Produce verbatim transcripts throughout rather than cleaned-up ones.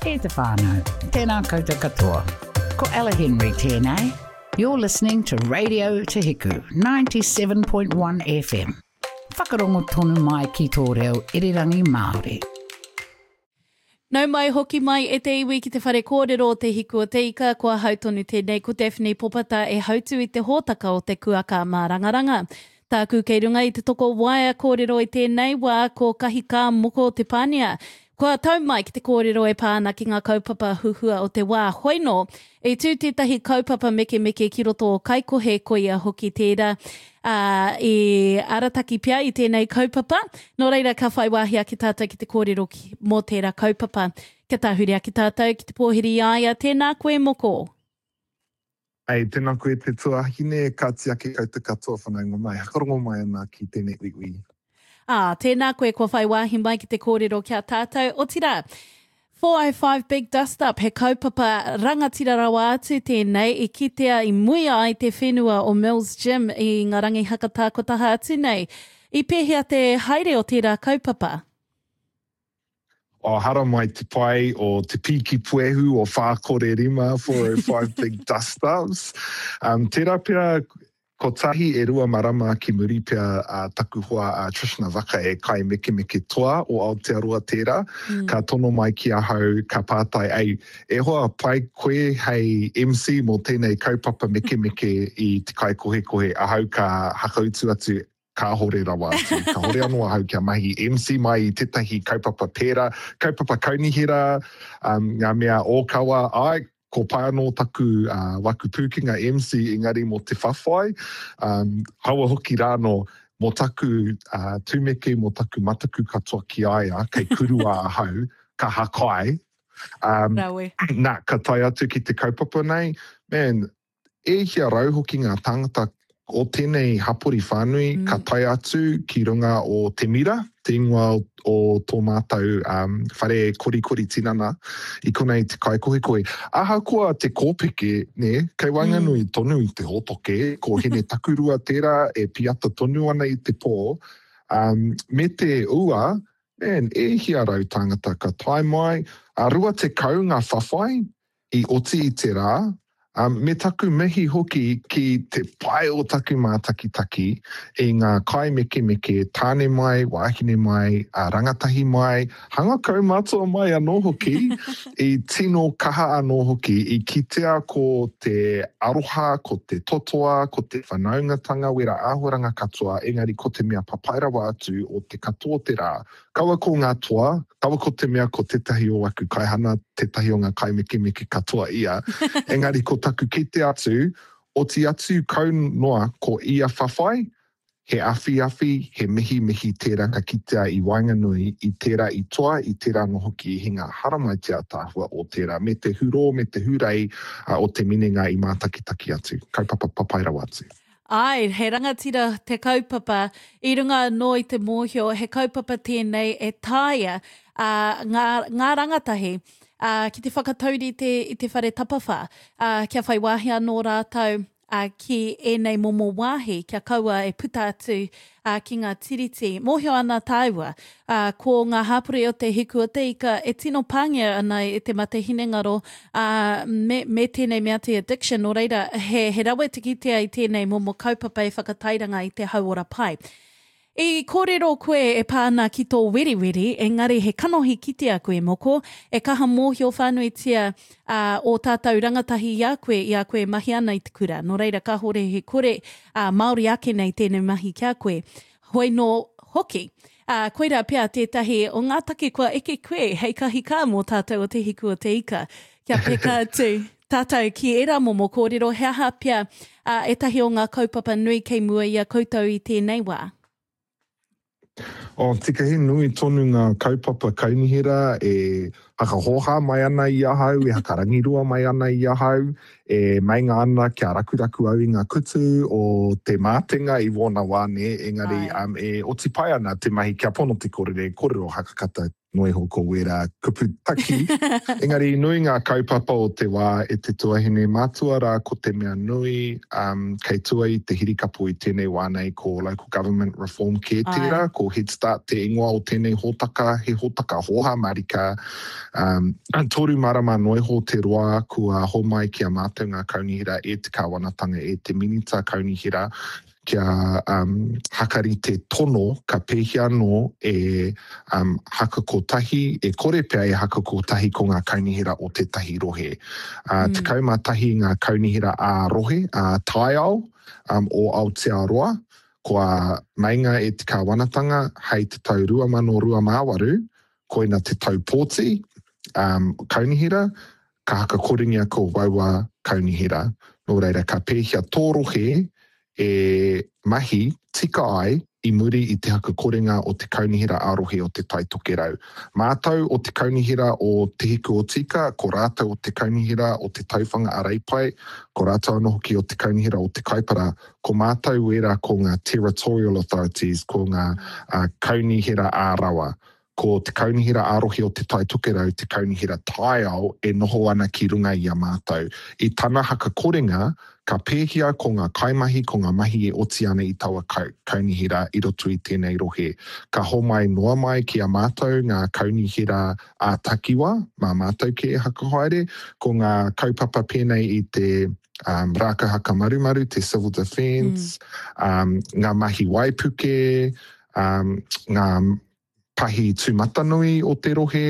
E te whānau, tēnā koutou katoa. Ko Ella Henry tēnei. You're listening to Radio Te Hiku, ninety-seven point one F M. Whakarongo tonu mai ki tō reo irirangi Māori. Nau mai hoki mai e te iwi ki te whare kōrero o Te Hiku o Te Ika, ko ahau tonu tēnei ko Daphne Popata e hautu i te hōtaka o te Kuaka Mārangaranga. Tāku kei runga i te toko waea kōrero i tēnei wā ko Kahika Moko Te Pānia. Kua tau mai ki te kōrero e pā ana ki ngā kaupapa huhua o te wā. Hoino, e tū tētahi kaupapa mekemeke ki roto o Kaikohe, koia hoki tērā uh, i arataki pea i tēnei kaupapa. Nō reira, ka whai wāhi ake tātou ki te kōrero ki, mō tērā kaupapa. Kia tāhuri ake tātou ki te pōhiri i a ia. Tēnā koe, Moko. Ei, tēnā koe te tuahine, ka tiaki koutou katoa whanaunga mai, hakarongo mai ana ki tēnei uiui. Ā, tēnā koe kua whai wāhi mai ki te kōrero ki a tātou. Otirā, four oh five Big Dust Up, he kaupapa rangatira rawa atu tēnei i kitea i muia ai te whenua o Mills Gym i ngā rangi hakatā ko taha atu nei. I pēhea te haere o tērā kaupapa? O haramai te pai o te pīki puehu o whā kore rima, four oh five Big Dust Ups. Um, tērā pea kotahi e rua marama ki muri pea uh, taku hoa uh, Trishna Vaka e kai mekemeke toa o Aotearoa tērā, mm. ka tono mai ki ahau, ka pātai, "Ei, e hoa, pai koe hei M C mō tēnei kaupapa mekemeke i te kai kohekohe?" Ahau ka hakautu atu, "Kāhore rawa atu. Kāhore anō ahau kia mahi M C mai i tētahi kaupapa pērā, kaupapa kaunihera, um, ngā mea ōkawa, ai, ko pai anō taku uh, waku pūkenga M C, engari mō te whawhai, um, haua hoki rāno, mō taku uh, tūmeke, mō taku mataku katoa ki a ia, kei kurua ahau, ka hakai." Um, Rawe. Nā, ka tae atu ki te kaupapa nei, man, e hia rau hoki ngā tāngata o tēnei hapori whānui mm. ka tae atu ki runga o Te Mira, te ingoa o, o tō mātou um, whare korikori tinana i konei te Kaikohekohe. Ahakoa te kōpeke, ne, kei waenganui mm. tonu i te hōtoke, ko Hine Takurua tērā e piata tonu ana i te pō, um, me te ua, man, e hia rau tāngata ka tae mai, a rua tekau ngā whawhai i oti i te rā, um, me taku mihi hoki ki te pai o taku mātakitaki i ngā kaimekemeke tāne mai, wāhine mai, a rangatahi mai, hanga kaumātua mai anō hoki, i tino kaha anō hoki, i kitea ko te aroha, ko te totoa, ko te whanaungatanga, wera āhuaranga katoa, engari ko te mea papai rawa atu o te katoa te rā. Kaua ko ngā toa, kaua ko te mea ko tētahi o aku kaihana, tētahi o ngā kaimekemeke katoa ia, engari ko taku kite atu, oti atu kau noa ko ia whawhai, he awhiawhi, he mihi mihi tērā ka kitea i waenganui, i tērā i toa, i tērā anō hoki i hinga. Haramai te ataahua o tērā, me te hurō, me te hurei uh, o te minenga i mātakitaki atu. Kaupapa papai rawa atu. Ai, he rangatira te kaupapa i runga anō i te mōhio he kaupapa tēnei e taea uh, ngā, ngā rangatahi uh, ki te whakataurite i te whare tapawhā, uh, kia whai wāhi anō rātou uh, ki ēnei momo wāhi, kia kaua e puta atu uh, ki ngā tiriti. Mōhio ana tāua, uh, ko ngā hāpori o Te Hiku o Te Ika e tino pāngia ana e te mate hinengaro uh, me, me tēnei mea te addiction. Nō reira, he, he rawe te kitea i tēnei momo kaupapa e whakatairanga i te hauora pai. I kōrero koe e pā ana ki tō weriweri, engari he kanohi kitea koe, Moko, e kaha mōhio whānuitia uh, o tātou rangatahi i a koe, i a koe e mahi ana i te kura. Nō reira, kāhore he kore uh, Māori ake nei tēnei mahi ki a koe. Hoi nō hoki. Uh, koirā pea tētahi o ngā take kua eke koe hei kahika mō tātou o Te Hiku o Te Ika. Kia peka atu tātou ki ērā momo kōrero, he aha pea uh, ētahi o ngā kaupapa nui kei mua i a koutou i tēnei wā? O, tika he nui tonu ngā kaupapa kaunihera e hakahōhā mai ana i ahau, e hakarangirua mai ana i ahau, e meinga ana kia rakuraku au i ngā kutu o te mātenga i wōna wā, nē, engari um, e oti pai ana te mahi kia pono te kōrero, kōrero hakakata Noiho ko wērā kupu taki. Engari nui ngā kaupapa o te wā e te tuahine matua rā ko te mea nui um, kei tua i te hirikapo i tēnei wā nei ko Local Government Reform kē tērā, ko Head Start te ingoa o tēnei hōtaka, he hōtaka hōhā marika. Um, toru marama noiho te roa kua homai ki a mātou ngā kaunihera e te kāwanatanga e te minita kaunihera kia um, hakarite tono ka pēhea anō e um, hakakotahi, e kore pea e hakakotahi ko ngā kaunihera o tētahi rohe. Uh, mm. Tekau mā tahi ngā kaunihera ā-rohe, ā-taiao um, o Aotearoa, kua meinga e te kāwanatanga hei te tau rua mano rua mā waru, koina te tau pōti um, kaunihera, ka hakakorengia ko waua kaunihera. Nō reira, ka pēhea tō rohe e mahi tika ai i muri i te hakakorenga o te kaunihera ā-rohe o te Tai Tokerau. Mātou o te kaunihera o Te Hiku o Tika, ko rātou o te kaunihera o te Tauwhanga a Reipae, ko rātou anō hoki o te kaunihera o te Kaipara, ko mātou wērā ko ngā territorial authorities, ko ngā uh, kaunihera ā-rawa. Ko te kaunihera ā-rohe o te Tai Tokerau, te kaunihera taiao e noho ana ki runga i a mātou. I tana hakakorenga, ka pēhea ko ngā kaimahi, ko ngā mahi e oti ana i taua kaunihera i roto i tēnei rohe. Ka homai noa mai ki a mātou ngā kaunihera ā-takiwa, mā mātou ke e hakahaere, ko ngā kaupapa pēnei i te um, rākau hakamarumaru, te civil defence, mm. um, ngā mahi waipuke, um, ngā pahi tūmatanui o te rohe,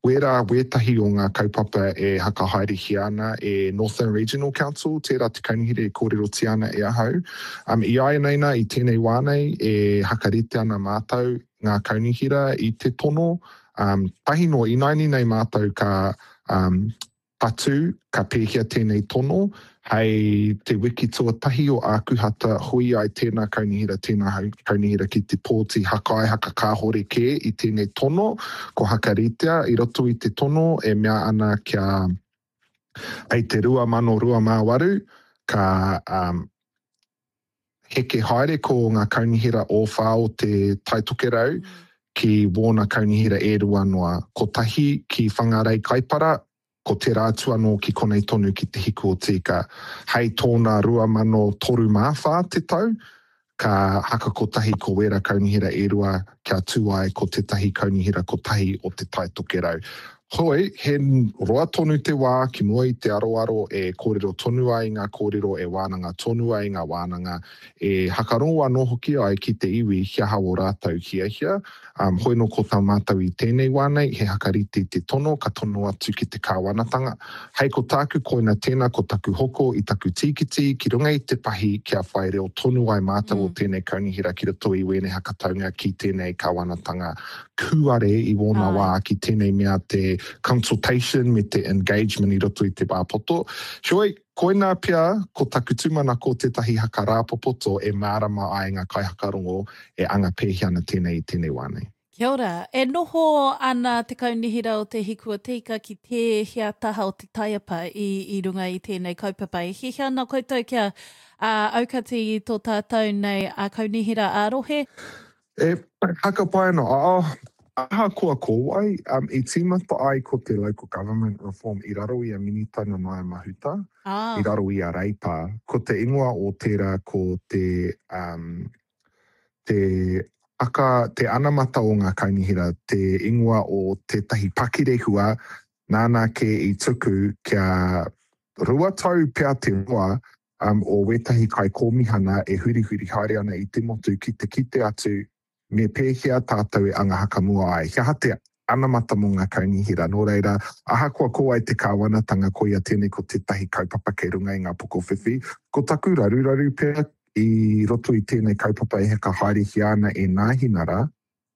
wērā wētahi o ngā kaupapa e hakahaerehia ana e Northern Regional Council, tērā te kaunihera e kōrerotia ana e ahau. Um, i āianei nā, i tēnei wā nei, e hakarite ana mātou ngā kaunihera i te tono. Um, tahi no, inaini nei mātou ka um, patu, ka pēhea tēnei tono, hei te wiki tuatahi o Ākuhata hui ai tēnā kaunihera, tēnā kaunihera ki te pōti hakai hakakāhore kē i tēnei tono, ko hakaritea i roto i te tono e mea ana kia hei te rua mano rua mā waru, ka um, heke haere ko ngā kaunihera o whā o te Tai Tokerau ki wōna kaunihera e rua noa. Kotahi ki Whangarei Kaipara, ko te rātu anō ki konei tonu ki te Hiku o Tika. Hei tōna rua mano toru mā whā te tau, ka hakakotahi ko wera kaunihera e rua kia tū ai ko tētahi kaunihera kotahi o te Tai Tokerau. Hoi, he roa tonu te wā ki mua i te aroaro e kōrero tonu ai ngā kōrero, e wānanga tonu ai ngā wānanga, e hakarongo anō hoki ai ki te iwi he aha o rātou hiahia. Um, hoi no ko tā mātou i tēnei wā nei, he hakarite te tono, ka tono atu ki te kāwanatanga. Hei ko tāku koina tēnā, ko taku hoko i taku tīkiti, ki runga i te pahi kia whai reo tonu ai mātou mm. o tēnei kaunihera ki roto i wēnei hakataunga ki tēnei kāwanatanga kūare i wōna wā ki tēnei mea te consultation me te engagement i roto i te wā poto. Heoi, koinā pea ko taku tūmanako tētahi hakarāpopoto e mārama ai ngā kaihakarongo e anga pēhea ana tēnei i tēnei wā nei. Kia ora, e noho ana te kaunihera o te Hiku o Tika ki tēhea taha o te taiapa i, i runga i tēnei kaupapa. E hiahia ana koutou kia uh, aukati i tō tātou nei a kaunihera ā-rohe? E hakapai ana, oh, ahakoa ko wai, um, i tīmata ai ko te Local Government Reform i raro i a Minita Nanaia Mahuta, ah. i raro i a Reipa. Ko te ingoa o tērā ko te, um, te aka, te anamata o ngā kaunihera, te ingoa o tētahi pakirehua, nāna ke i tuku kia rua tau pea te roa um, o wētahi kaikōmihana e hurihuri haere ana i te motu ki te kite atu me pēhea tātou e anga hakamua ai. He aha te anamata mō ngā kaunihera. Nō reira, ahakoa ko ai te kāwanatanga, koia tēnei ko tētahi kaupapa kei runga i ngā pokowhiwhi. Ko taku raruraru pea i roto i tēnei kaupapa e haka haerehia ana e Nāhinara,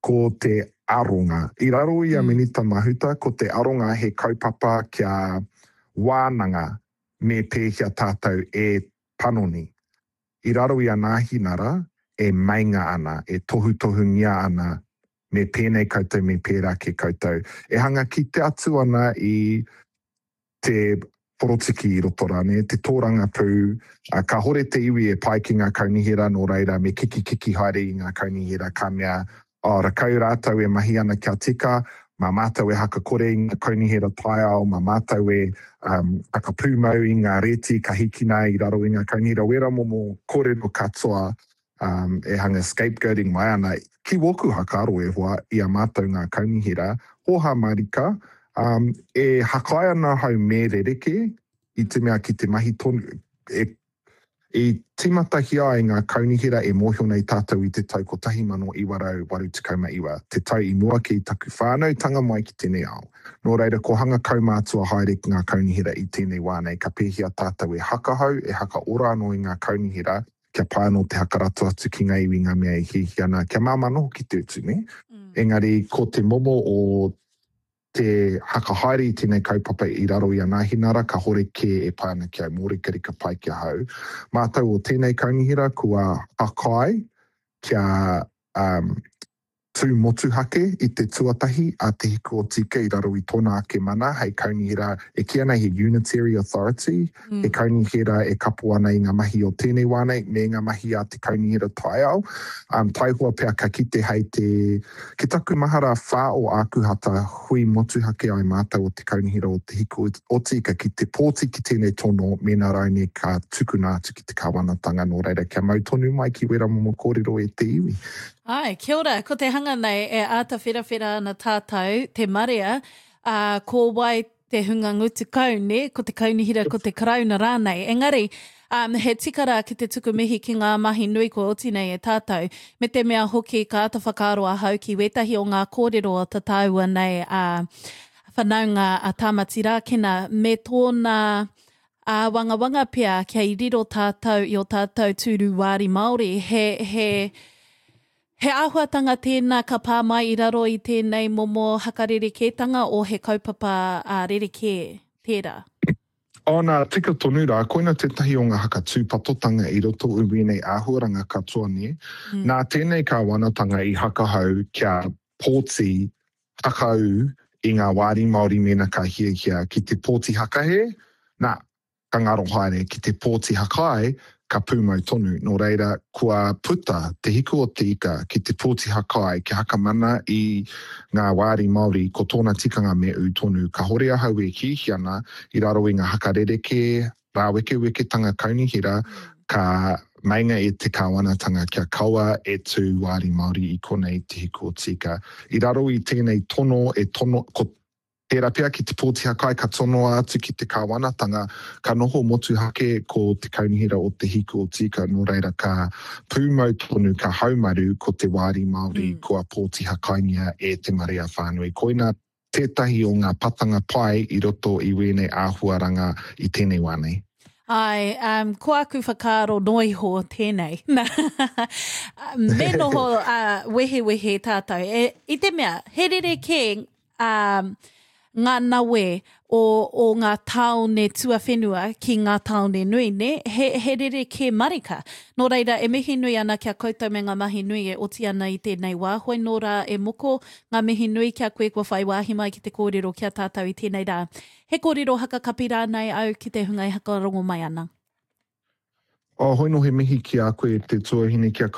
ko te aronga. I raro i a Minita Mahuta, ko te aronga he kaupapa kia wānanga me pēhea tātou e panoni. I raro i a Nāhinara, e meinga ana, e tohutohungia ana, me pēnei koutou, me pērā ke koutou. E hanga ki te atu ana i te porotiki i roto rāne, te tōrangapū, uh, ka hore te iwi e pai ki ngā kaunihera nō reira, me kiki kiki haere i ngā kaunihera ka mea, oh, rakau rātou e mahi ana kia tika, Mā mātou e hakakore i ngā kaunihera taiao, mā mātou e um, hakapūmau i ngā reti ka hikina i raro i ngā kaunihera, wera momo kōrero katoa um, e hanga scapegoating mai ana. Ki wōku whakaaro e hoa i a mātou ngā kaunihera, hōhā marika, um, e hakai ana hau me rerekē i te mea ki te mahi tonu, e I tīmatahia ai ngā kaunihera e mōhio nei tātou i te tau kotahi mano iwa rau waru tekau ma iwa, te tau i mua ki taku whānautanga mai ki tēnei ao. Nō reira, ko hanga kaumātua haere ki ngā kaunihera i tēnei wā nei, ka pēhea tātou e hakahau, e hakaora anō i ngā kaunihera, kia pai anō te hakarato atu ki ngā iwi ngā mea e hiahia ana, kia māmā noho ki te utu, nē? Engari, ko te momo o te hakahaere i tēnei kaupapa i raro i a Nāhinara, kahore kē e pai ana ki au, mōrekareka pai ki ahau. Mātou o tēnei kaunihera kua whakaae kia um, tū motuhake i te tuatahi a Te Hiku o Tika i raro i tōna ake mana hei kaunihera e kīia nei he unitary authority, mm. he kaunihera e kapo ana i ngā mahi o tēnei wā nei me ngā mahi a te kaunihera taiao. Um, taihoa pea ka kite hei te Ki taku mahara whā o Ākuhata hui motuhake ai mātou o Te Kaunihera o Te Hiku o Tika ki te pōti ki tēnei tono mēnā raine ka tukuna atu ki te kāwanatanga nō reira kia mau tonu mai ki wera momo kōrero e te iwi. Āe, kia ora, ko te hanga nei e āta wherawhera ana tātou, te marea, ā, ko wai te hunga ngutu kau, nē, ko te kaunihera, ko te karauna rānei. Engari, um, he tika rā ki te tuku mihi ki ngā mahi nui kua oti nei e tātou, me te mea hoki ka āta whakaaro ahau ki wētahi o ngā kōrero o ta tāua nei a whanaunga a Tāmati Rākena me tōna āwangawanga pea kia i riro tātou i o tātou tūru wāri Māori, he, he, He āhuatanga tēnā ka pā mai i raro i tēnei momo hakarerekētanga o he kaupapa rerekē tērā? Oh, nā, tika tonu rā, koina tētahi o ngā hakatūpatotanga i roto i wēnei āhuaranga katoa, nē. Mm. Nā tēnei kāwanatanga i hakahau kia pōti hakaū i ngā wāri Māori mēnā ka hiahia ki te pōti hakahē, nā, ka ngaro haere, ki te pōti hakai, ka pūmau tonu. Nō reira, kua puta te hiku o te ika ki te pōti hakai, kia hakamana i ngā wāri Māori, ko tōna tikanga me ū tonu. Kahore ahau e kīhi ana i raro i ngā hakarerekē, rāwekeweketanga kaunihera, ka meinga e te kāwanatanga kia kaua e tū wāri Māori i konei te hiku o te ika. I raro i tēnei tono e tono, ko Tērā pea ki te pōti hakai ka tonoa atu ki te kāwanatanga, ka noho motuhake ko te Kaunihera o Te Hiku o Tika, nō reira ka pūmau tonu, ka haumaru ko te wāri Māori mm. kua pōti hakaingia e te marea whānui. Koina tētahi o ngā patanga pai i roto i wēnei āhuaranga i tēnei wā nei. Ai, um, ko aku whakaaro noa iho tēnei. Me noho uh, wehewehe tātou. E, I te mea, he rerekē um, ngā nawe o, o ngā tāone tuawhenua ki ngā tāone nui, nē? He, he rerekē marika. Nō reira, e mihi nui ana ki a koutou me ngā mahi nui e oti ana i tēnei wā. Hoi nō rā e moko, ngā mihi nui ki a koe kua whai wāhi mai ki te kōrero ki a tātou i tēnei rā. He kōrero hakakapi rānei au ki te hunga e hakarongo mai ana? Oh, hoi nō he mihi ki a koe te tuahine, ki a